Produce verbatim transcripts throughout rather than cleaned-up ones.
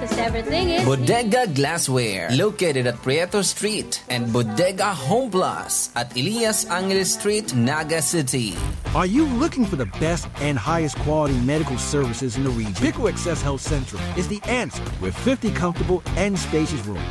Because everything is Bodega Glassware, located at Prieto Street and Bodega Home Plus at Elias Angeles Street, Naga City. Are you looking for the best and highest quality medical services in the region? Pico Access Health Central is the answer with fifty comfortable and spacious rooms.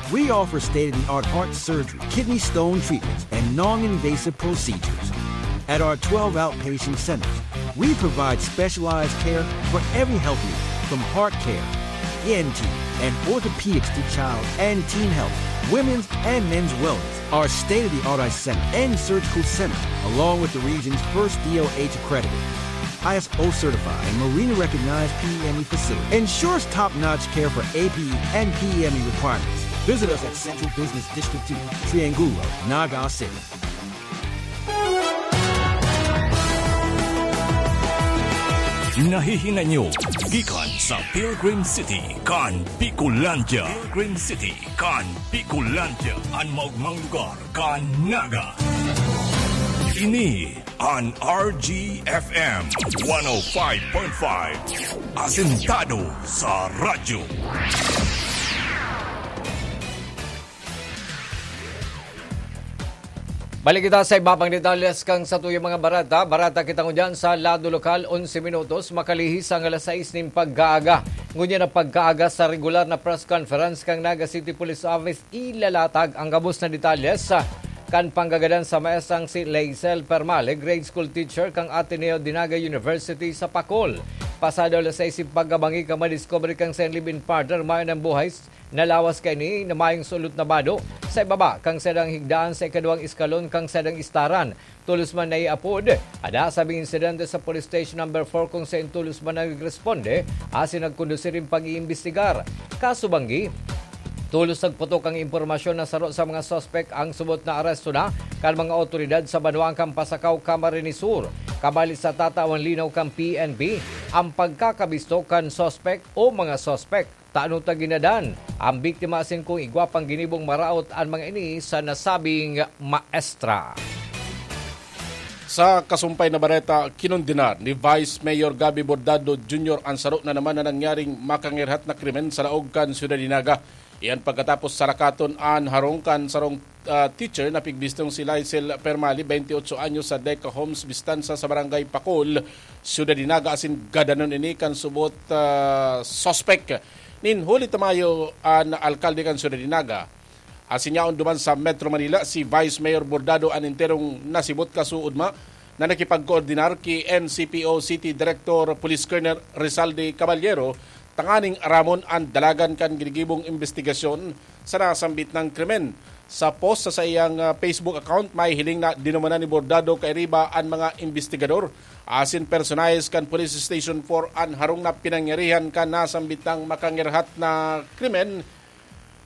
We offer state-of-the-art heart surgery, kidney stone treatments, and non-invasive procedures. At our twelve outpatient centers, we provide specialized care for every health need, from heart care, E N T, and orthopedics to child and teen health, women's and men's wellness. Our state-of-the-art eye center and surgical center, along with the region's first D O H accredited, I S O certified, and Marina recognized P E M E facility, ensures top-notch care for A P E and P E M E requirements. Visit us at Central Business District two, Triangulo, Naga City. Nahihinay nyo gikan sa Pilgrim City kan Bicolandia. Pilgrim City kan Bicolandia, an maogmang lugar kan Naga. Ini an R G F M one oh five point five, asentado sa radyo. Balik kita sa iba pang detalles kan satuyang mga bareta. Bareta kita ngunyan sa lado lokal, onse minutos makalihis ang alas sais nin pagkaaga. Ngunyan ang pagkaaga sa regular na press conference kan Naga City Police Office, ilalatag ang gabos na detalles kan panggagadan sa maestrang si Leisel Permale, grade school teacher kan Ateneo de Naga University sa Pacol. Pasado alas sais nin pagkabangi kan madiskubre kan saiyang live-in partner, mayo nang buhay na lawas kaini na mayong sulot na bado sa ibaba kan saindang higdaan sa ikaduwang eskalon kan saindang istaran. Tolos man naiapod an nasabing insidente sa Police Station Number four, kung saen tolos man nagresponde asin nagkondusir nin pag-iimbestigar. Kaso banggi, tolos nagputok ang impormasyon na saro sa mga suspek ang subot na aresto na kan mga awtoridad sa banwaan kan Pasacao, Camarines Sur. Kabali sa tatawan linaw kan P N P, ang pagkakabisto kan suspek o mga suspek. Tano ta ginadan ang biktima asin kung igwa pang ginibong maraot an mga ini sa nasabing maestra. Sa kasumpay na bareta, kinondenar ni Vice Mayor Gabby Bordado Junior ang saro na naman na nangyaring makangirhat na krimen sa laog kan Syudad de Naga. Iyan pagkatapos sarakaton an harong kan sarong ah, teacher na pigbistong si Lysel Permali, twenty-eight anyos, sa Deca Homes, Bistanza, sa Barangay Pacol, Ciudad de Naga, asin gadanon ini kan subot, ah, suspek. Nin huli ta mayo an alkalde kan Ciudad de Naga, asin yaon duman sa Metro Manila, si Vice Mayor Bordado an enterong nasibot, kasuodma na nakipagkoordinar ki N C P O City Director Police Colonel Rizalde Caballero tanganing aramon an dalagan kan ginigibong imbestigasyon sa nasambit na krimen. Sa post sa saiyang, ah, Facebook account, may hiling na dinumanan ni Bordado kairiba an mga imbestigador asin personahes kan Police Station four an harong na pinangyarihan kan nasambit na makangirhat na krimen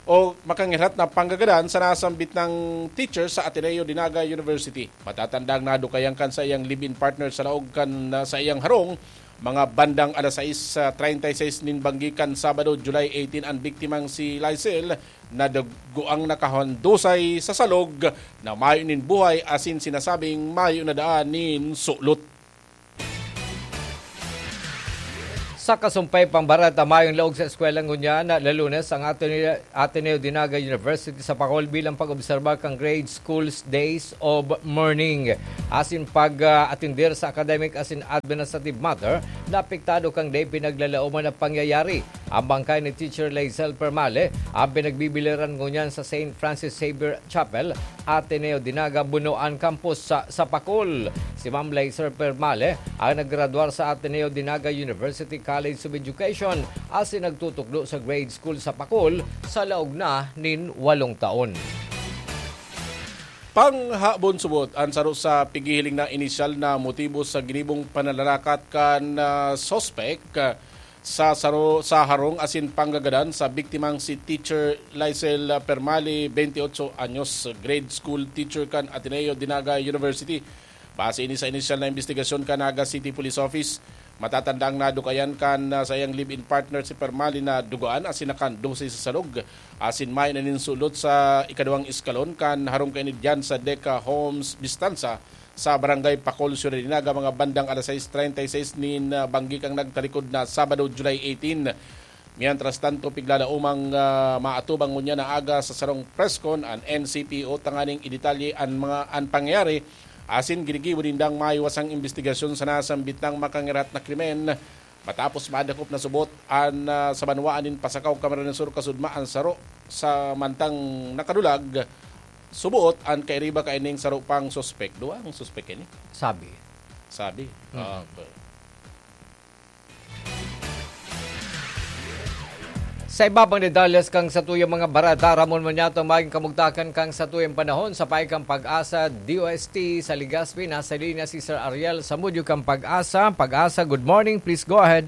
o makangirhat na panggagadan sa nasambit na teacher sa Ateneo de Naga University. Matatandang nadukayan kan saiyang live-in partner sa laog kan, ah, saiyang harong, mga bandang alas sais, ah, treinta y seis nin banggi kan Sabado, July eighteen, an biktimang si Lysel, na dugoang nakahandusay sa salog na mayo nin buhay asin sinasabing mayo na daan nin sulot. Sa kasumpay pang bareta, mayong laog sa eskwela ngunyan na Lunes ang Ateneo, Ateneo de Naga University sa Pacol bilang pag-obserba kan Grade School's Days of Mourning asin pag-atender sa academic asin administrative matter na apektado kan dai pinaglalaoman na pangyayari. Ang bangkay ni Teacher Leisel Permale ang pinagbibiliran ngunyan sa Saint Francis Xavier Chapel, Ateneo de Naga, Bunoan Campus sa, sa Pacol. Si Ma'am Leisel Permale ang naggraduar sa Ateneo de Naga University College of Education asin nagtutukdo sa grade school sa Pacol sa laog na nin walong taon. Panghabon subot, ang saro sa pighihiling na inisyal na motibo sa ginibong pananarakat kan, ah, suspek, ah, sa saro, sa harong asin panggagadan sa biktimang si Teacher Lysel Permali, twenty-eight anyos, grade school teacher kan Ateneo de Naga University. Base ini sa inisyal na imbestigasyon kan Naga City Police Office, matatanda ang nadukayan kan, ah, saiyang live-in partner si Permali na dugoan asin nakahandusay sa salog asin mayo na nin sulot sa ikaduwang eskalon kan harong kaini diyan sa Deca Homes, Bistanza, sa Barangay Pacol, Ciudad de Naga, mga bandang alas sais treinta y seis nin, ah, banggi kan nagtalikod na Sabado, July eighteen. Mientras tanto, piglalaomang, ah, maatubang ngunyan na aga sa sarong press con an N C P O tanganing idetalye an mga, an pangyayari asin ginigibo nindang maiwasang imbestigasyon sa nasambit nang makangaraot na krimen. Matapos madakop na subot an, ah, sa banwaan nin Pasacao, Camarines Sur, kasudma an saro sa mantang nakadulag, subot an kairiba kaining saro pang suspek. Duwang suspek ini. Sabi. Sabi. Mm. Ah, okay. Sa iba pang detalles kan satuyang mga bareta, Ramon Moniato, magin kamugtakan kan satuyang panahon sa Paikang Pag-asa, D O S T, sa Legazpi, nasa linya si Sir Ariel Samudio kan Pag-asa. Pag-asa, good morning. Please go ahead.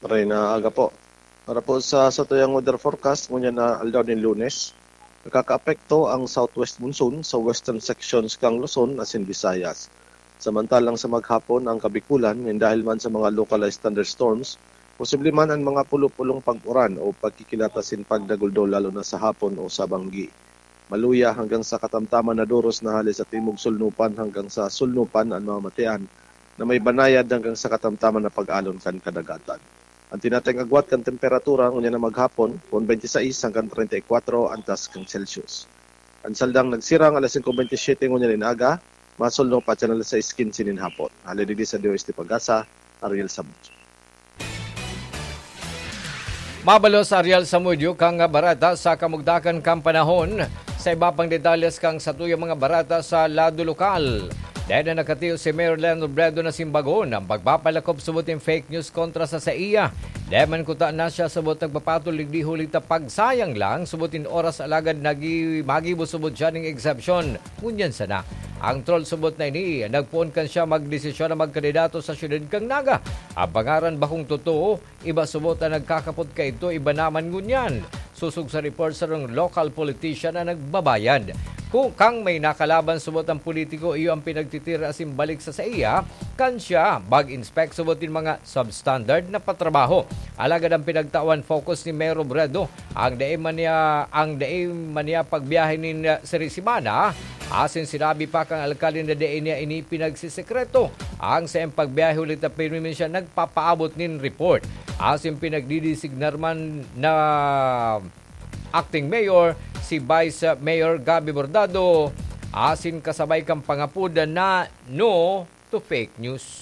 Maray na aga po. Para po sa satuyang weather forecast, ngunyan na aldaw nin Lunes, nakakaapekto ang southwest monsoon sa western sections kan Luzon asin Visayas. Samantalang sa maghapon, ang Kabikulan, nin dahil man sa mga localized thunderstorms, posible man an mga pulo-pulong pag-uran o pagkikilat asin pagdaguldo, lalo na sa hapon o sa banggi. Maluya hanggang sa katamtaman na doros na hale sa timog sulnupan hanggang sa sulnupan an mamamatean na may banayad hanggang sa katamtaman na pag-alon kan kadagatan. An tinatayong agwat kan temperatura ngunyan na maghapon, kun twenty-six hanggang treinta y cuatro antas kan Celsius. An saldang nagsirang alas singko bentisiete ngunyan nin aga, masulnop pa asin alas sais kinse nin hapon. Hale digdi sa D O S T Pag-asa, Ariel Samudio. Mabalos, Ariel Samudio, kan bareta sa kamugtakan kan panahon. Sa iba pang detalles kan satuyang mga bareta sa lado lokal, dai na nakatiyo si Mayor Leon Robredo na simbagon an pagpapalakop subot nin fake news kontra sa saiya. Dai man kuta na siya subot nagpapatol digdi huli ta pagsayang lang subot nin oras, alagad nagi-, magibo subot siya nin exception. Ngunyan sana, ang troll subot na ini nagpoon kan siya magdesisyon na magkandidato sa syudad kan Naga. An pangaran bakong totoo, iba subot an nagkakapot kaidto, iba naman ngunyan. Sosog sa report, sarong local politician an nagbabayad. Kun kan may nakalaban subot an politiko, iyo an pinagtitira asin balik sa saiya, kan siya mag-inspect subot nin mga substandard na patrabaho. Alagad an pinagtawan focus ni Mayor Robredo, ang dai man niya, ang dai man niya pagbiyahe nin, ah, seri semana, asin sinabi pa kan alkalde na dai niya ini pinagsisekreto ang saiyang pagbiyahe huli ta pirmi man siya nagpapaabot nin report. Asin pinagdidesignar man na acting mayor si Vice Mayor Gabby Bordado, asin kasabay kan pangapod na no to fake news.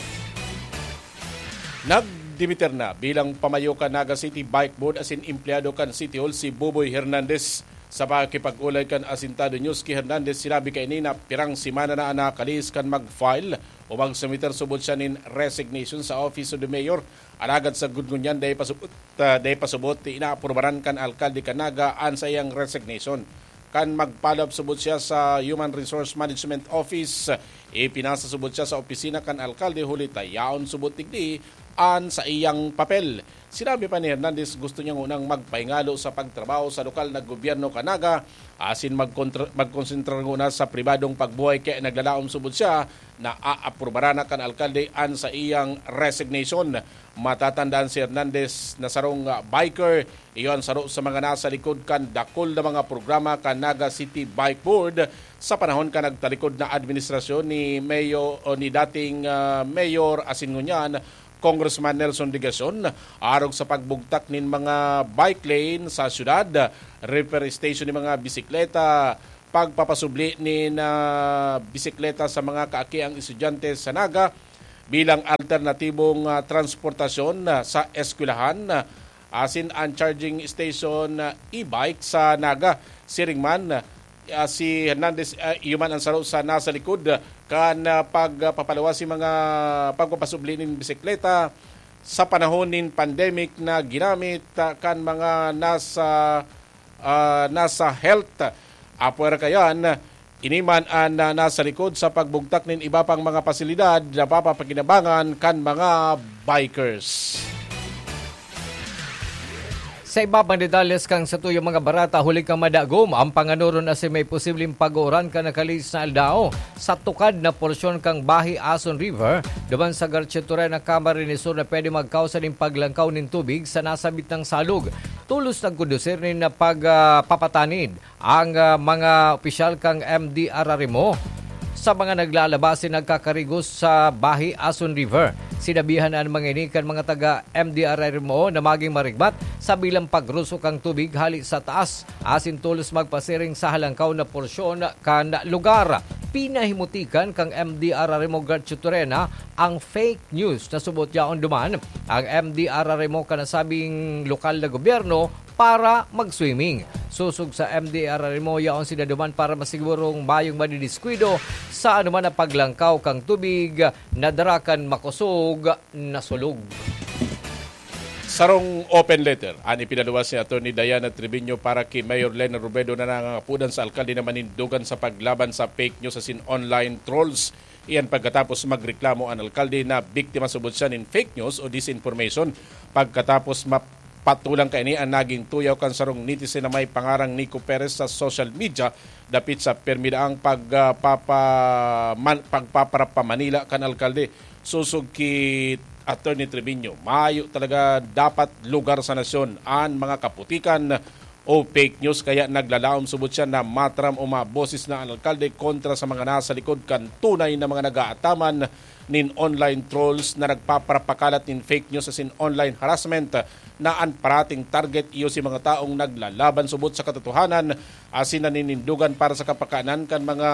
Nagdimiter na bilang pamayo kan Naga City Bike Board asin empleyado kan City Hall si Boboy Hernandez. Sa pakikipag-olay kan Asintado News ki Hernandez, sinabi kaini na pirang semana na an nakalihis kan mag-file o mag-submiter subot siya nin resignation sa Office of the Mayor. Alagad sagkod ngunyan, dai pa subot, ah, dai pa subot inaaprubaran kan alkalde kan Naga an saiyang resignation. Kan mag-follow up subot siya sa Human Resource Management Office, ipinasa subot siya sa opisina kan alkalde huli ta yaon subot digdi an saiyang papel. Sinabi pa ni Hernandez, gusto niya ngunang magpahingalo sa pagtrabaho sa lokal na gobyerno kan Naga, asin magkontra-, magkonsentra nguna sa pribadong pagbuhay, kaya naglalaom subot siya na aaprubaran na kan alkalde an saiyang resignation. Matatandaan si Hernandez na sarong, ah, biker, iyo an saro sa mga nasa likod kan dakul na mga programa kan Naga City Bike Board sa panahon kan nagtalikod na administrasyon ni Mayo-, o ni dating, ah, Mayor asin ngunyan Congressman Nelson Legacion, arog sa pagbugtak nin mga bike lane sa syudad, repair station nin mga bisikleta, pagpapasubli nin, ah, bisikleta sa mga kaakiang estudyante sa Naga bilang alternatibong, ah, transportasyon, ah, sa eskwelahan, ah, asin an charging station, ah, e-bike sa Naga. Siring man, ah, si Hernandez, ah, iyo man an saro sa nasa likod, ah, kan, ah, pagpapaluwas nin mga pagpapasubli nin bisikleta sa panahon nin pandemic na ginamit, ah, kan mga nasa, ah, nasa health. Apwera kayan, ini man an, ah, nasa likod sa pagbugtak nin iba pang mga pasilidad na papapakinabangan kan mga bikers. Sa iba pang detalles kan satuyang mga bareta, huli kan madagom an panganoron asin may posibleng pag-uuran kan nakalihis na aldaw sa tukad na porsyon kan Bahi Ason River, duman sa Garchitoren na Camarines Sur, na pwede magkausa nin paglangkaw nin tubig sa nasabit na salog. Tolos nagkondusir nin pag, ah, papatanid ang, ah, mga opisyal kan M D R R M O sa mga naglalaba asin nagkakarigos sa Bahi Ason River. Sinabihan an mga ini kan mga taga M D R R M O na maging marigmat sa bilang pagruso kan tubig hale sa taas asin tolos magpasiring sa halangkaw na porsyon kan lugar. Pinahimutikan kan M D R R M O Gertrude Turena ang fake news na subot yaon duman ang M D R R M O kan nasabing lokal na gobyerno para mag-swimming. Sosog sa M D R R M O, yaon sinda duman para masigurong mayong madidiskuido sa anuman na paglangkaw kan tubig na dara kan makosog na sulog. Sarong open letter an ipinaluwas ni Attorney Diana Triviño para ki Mayor Leni Robredo na nangangapodan sa alkalde na manindogan sa paglaban sa fake news asin online trolls. Iyan pagkatapos magreklamo an alkalde na biktima subot siya nin fake news o disinformation pagkatapos mapatulang kaini an naging tuyaw kan sarong netizen na may pangarang Nico Perez sa social media dapit sa pirmi daang pag, ah, papa-, man-, pagpaparapa Manila kan alkalde. Sosog ki Attorney Triviño, mayo talaga dapat lugar sa nasyon an mga kaputikan o fake news, kaya naglalaom subot siya na mataram o maboses na an alkalde kontra sa mga nasa likod kan tunay na mga nag-aataman nin online trolls na nagpaparapakalat nin fake news asin online harassment na an parating target iyo si mga taong naglalaban subot sa katotohanan asin naninindogan para sa kapakanan kan mga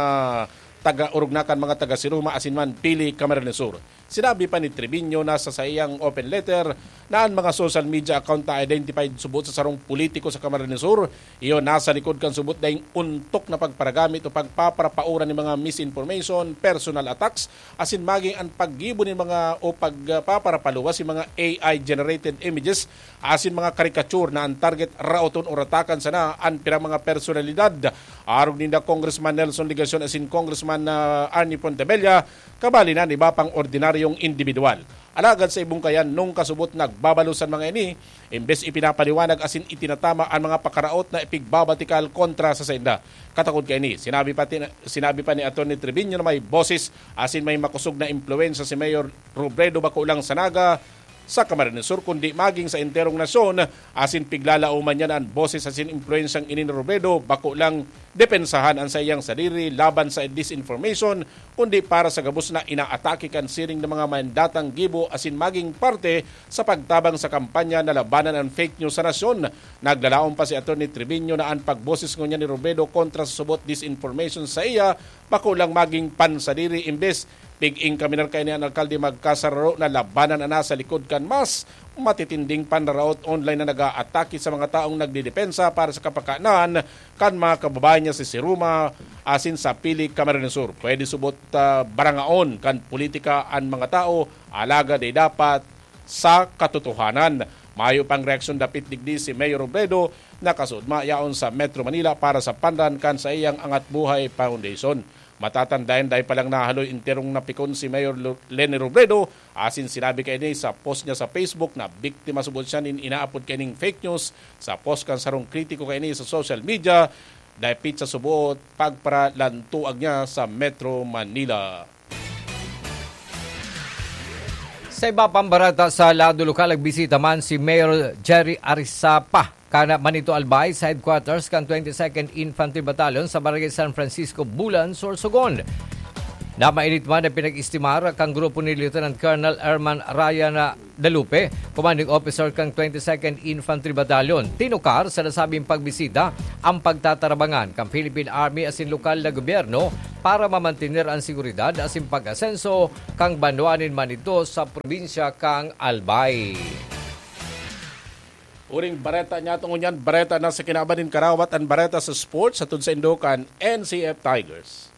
taga-orog na kan mga taga-Siruma asin man Pili, Camarines Sur. Sinabi pa ni Triviño na sa saiyang open letter na an mga social media account na identified subot sa sarong politiko sa Camarines Sur, iyo nasa likod kan subot daing ontok na pagparagamit o pagpaparapaoran nin mga misinformation, personal attacks, asin maging an paggibo nin mga o pagpaparapaluwas nin mga A I-generated images asin mga caricature na an target raoton o ratakan sana an pirang mga personalidad. Arog ninda Congressman Nelson Legacion asin Congressman, ah, Arnie Pontebella, kabali na an iba pang ordinaryong indibidwal. Alagad sa ibong kayan, nung kasubot nagbabalo san mga ini, imbes ipinapaliwanag asin itinatama an mga pakaraot na ipigbabatikal kontra sa sainda. Katakod kaini, sinabi pati na, sinabi pa ni Attorney Triviño na may boses asin may makosog na impluwensya si Mayor Robredo bako lang sa Naga, sa Camarines Sur, kundi maging sa enterong nasyon, asin piglalaoman niya na an boses asin impluwensyang ini ni Robredo bako lang depensahan an saiyang sadiri laban sa disinformation, kundi para sa gabos na inaatake kan siring na mga mandatang gibo asin maging parte sa pagtabang sa kampanya na labanan an fake news sa nasyon. Naglalaom pa si Attorney Triviño na an pagboses ngunyan ni Robredo kontra sa subot disinformation sa iya bako lang maging pansadiri, imbes pig-enkaminar kaini an alkalde magkasararo na labanan na nasa likod kan mas matitinding panraraot online na nag-aatake sa mga taong nagdedepensa para sa kapakanan kan mga kababayan niya sa Siruma asin sa Pili, Camarines Sur. Pwede subot, ah, barangaon kan politika an mga tao, alagad ay dapat sa katotohanan. Mayo pang reaksyon dapit digdi si Mayor Robredo na kasudma yaon sa Metro Manila para sa panran kan saiyang Angat Buhay Foundation. Matatandayan, dai pa lang nahaloy enterong napikon si Mayor Lo-, Leni Robredo, asin sinabi kaini sa post niya sa Facebook na biktima subot siya nin inaapod kaining fake news sa post kan sarong kritiko kaini sa social media, dapit sa subot pagparalantuag niya sa Metro Manila. Sa iba pang bareta, sa lado lokal, nagbisita man si Mayor Jerry Arisapa kan Manito Albay sa headquarters kan twenty-second Infantry Battalion sa Barangay San Francisco, Bulan, Sorsogon. Namainit man ang pinag-estimar kan grupo ni Lieutenant Colonel Herman Ryan Dalupe, commanding officer kan twenty-second Infantry Battalion. Tinukar sa nasabing pagbisita ang pagtatarabangan kan Philippine Army asin lokal na gobyerno para mamantener an seguridad asin pag-asenso kan banwa nin Manito sa probinsya kan Albay. Uring bareta niya, tungo niyan, bareta na sa kinaban nin karawat, an bareta sa sports, hatod saindo kan N C F Tigers.